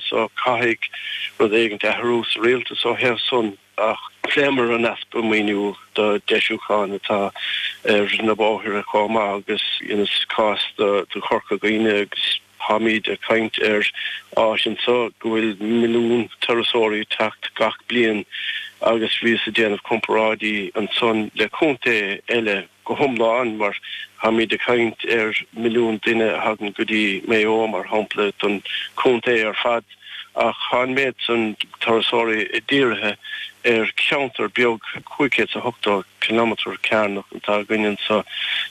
so caithfidh rud éigint athrú sa rialtas ó thaobh san. Ach phléamar an easpa maoiniú do deisiúcháin atá ar na bóithre chomh maith agus dheineas cás do Chorca Dhuibhne agus táimíd ag caint ar áit anso go bhfuil milliún turasóirí ag teacht gach bliain agus bhíos ag déanamh comparáidí ansan le contae eile go hiomlán mar táimid ag caint ar mhilliún duine a thagann go dtí Maigh Eo mar shampla don chontae ar fad ach tá an méid san turasóirí dírithe ar cheantar beag 580 kilometre cearnach atá againn anso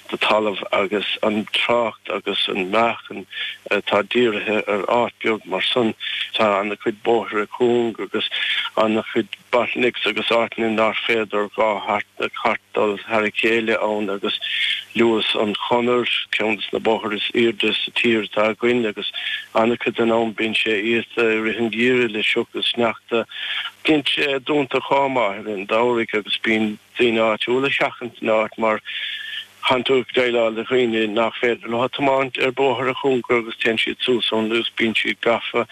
de talamh agus an trácht agus an meáchan atá dírithe ar áit beag mar san tá ana-chuid bóithre cúng agus ana-chuid bottlenecks agus áiteanna nár féidir 2 chairt dul thar a chéile ann agus luas an Chonair, ceann des na bóithre is aoirde sa tír atá againn agus an-chuid den am bíonn sé iata i rith an gheimhridh le sioc is sneachta. Bíonn sé dúnta chomh maith i rith an tsamhraidh agus bíonn daoine áitiúla ag seachaint an áit mar Tánn tú ag déileáil le dhaoine nach féidir leo tiomáint ar bóithre cúnga agus téann siad suas ann agus bíonn siad gafa.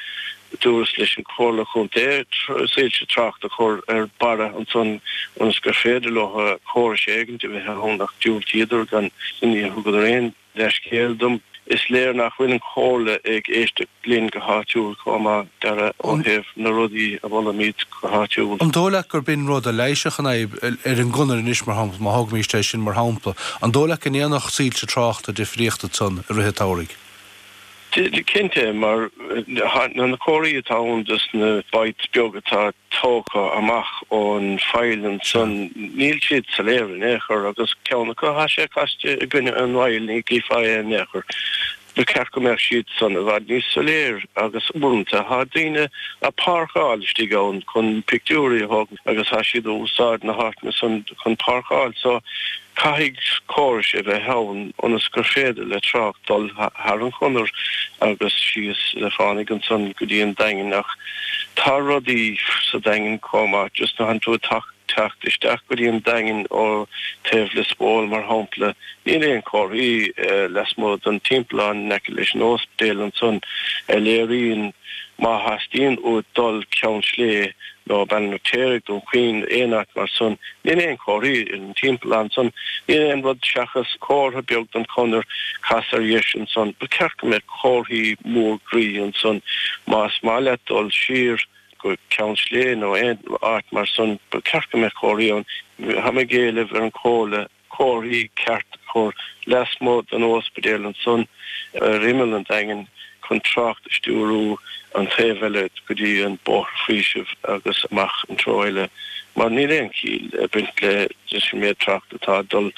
Dúras leis an Chomhairle Chontae soilse tráchta a chur ar barra ansan ionas gur féidir leo córais éigint a bheith ann ach diúltaíodar gan níor thugadar aon leithscéal dom. Is léir nach bhfuil an Chomhairle ag éisteacht linn go háitiúil chomh maith, Dara, ó thaobh na rudaí a mholaimid go háitiúil. An dóigh leat gurb in rud a leigheasfadh an fhadhb ar an gconair anois, mar shampla, má thógaimíst é sin mar shampla, an dóigh leat go ndéanfadh soilse tráchta difríocht ansan i rith an tsamhraidh? Cinnte, mar na comharthaí atá ann dos na bites beag atá tógtha amach ón bhfaill ansan, níl siad soiléir in aon chor agus ceann acu tá sé caste i gcoinne an bhfaill, ní chífeá é in aon chor. Ba cheart go mbeadh siad san i bhfad níos soiléir agus uaireanta tá daoine a' páirceáil istigh ann chun pictiúirí a thógaint agus tá siad a úsáid na háiteanna san chun páirceáil so Caithfidh córais a bheith ann ionas gur féidir le trácht dul thar an chonair agus síos le fánaidh ansan go dtí an Daingean ach tá rudaí sa Daingean chomh maith just nuair tánn tú ag teacht isteach go dtí an Daingean ó taobh Lios Póil mar shampla níl aon comharthaí lasmuigh den timpeallán in aice leis an óspidéal ansan a léiríonn má theastaíonn uait dul Ceann Sléibhe nó Ballynacleric, Dún Chaoin, aon áit mar san, níl aon chomharthaí ar an timpeallán san, níl aon rud seachas comhartha beag don chonair, cas ar dheis ansan. Ba cheart go mbeadh comharthaí mór groí ansan. Más maith leat dul siar go Ceann Sléibhe nó aon áit mar san, ba cheart go mbeadh comharthaí ann. Tá mé ag éileamh ar an Chomhairle comharthaí ceart a chur lasmuigh den óspidéal ansan ar imeall an Daingin chun trácht a stiúrú an taobh eile go dtí an Bóthar Faoisimh agus amach an treo eile mar níl aon chiall ag baint leis an méid trácht atá ag dul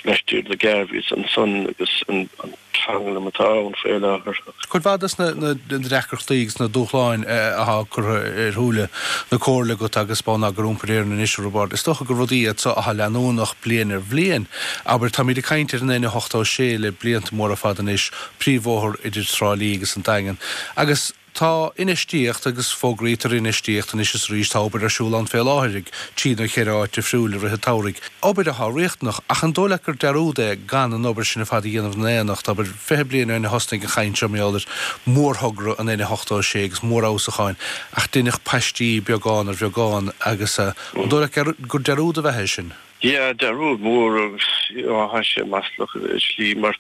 laistiar de Garveys ansan agus an tranglam atá ann faoi láthair. Cuid mhaith des na deacrachtaí agus na dúshláin atá curtha ar shúile na Comhairle agat agus Bonneagar Iompair Éireann anois, a Roibeaird, is dócha gur rudaí iad so atá leanúnach bliain ar bhliain. Abair, táimid ag caint ar an N86 le blianta móra fada anois, príomhbhóthar idir Trá Lí agus an Daingean, agus Tá infheistíocht, agus fógraítear infheistíocht anois is arís, tá obair ar siúl ann fé láthair ag trí nó cheithre áit difriúil i rith an tsamhraidh. Obair atá riachtanach, ach an dóigh leat gur dearúd é gan an obair sin ar fad a dhéanamh in éineacht? Abair, 20 bliain ó shin a thosnaigh an chaint seo mar gheall ar mhórthogra an N86 agus mórfheabhsúcháin, ach deineadh paistí beagán ar bheagán agus an dóigh leat gur dearúd ab ea é sin? Yeah, dearúd mór agus tá sé maslach i slí mar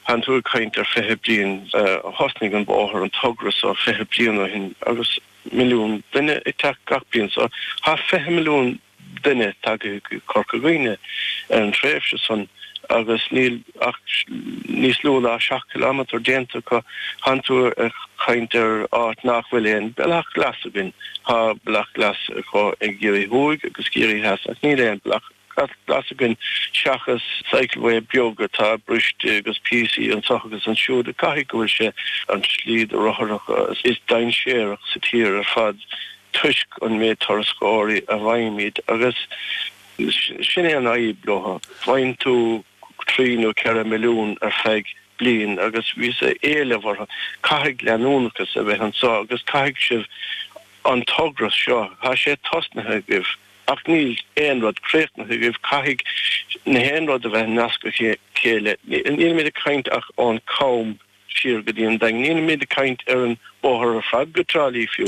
tánn tú ag caint ar 20 bliain, thosnaigh an bóthar, an togra so 20 bliain ó shin agus milliún duine ag teacht gach bliain so tá 20 milliún duine tagtha go Corca Dhuibhne ar an tréimhse san agus níl ach níos lú ná 7 kilometre déanta acu. Tánn tú ag caint ar áit nach bhfuil aon bealach glas againn. Tá bealach glas acu i gCiarraí Thuaidh agus Ciarraí Theas ach níl aon bealach glas againn seachas cycleway beag atá briste agus píosaí anseo agus ansiúd. Caithfidh go bhfuil sé an tslí do rotharacha is dainséarach sa tír ar fad toisc an méid turasóirí a bhfaighimid agus Sin é an fhadhb leo. Faigheann tú 3 nó 4 milliún ar feadh bliain agus bhíos ag éileamh orthu, caithfidh leanúnachas a bheith anseo agus caithfidh sibh an togra seo, tá sé tosnaithe agaibh ach níl aon rud críochnaithe agaibh, caithfidh na haon rud a bheith nasctha le chéile. Nílimid ag caint ach ón gCam siar go dtí an Daingean, nílimid ag caint ar an bóthar ar fad go Trá Lí fiú.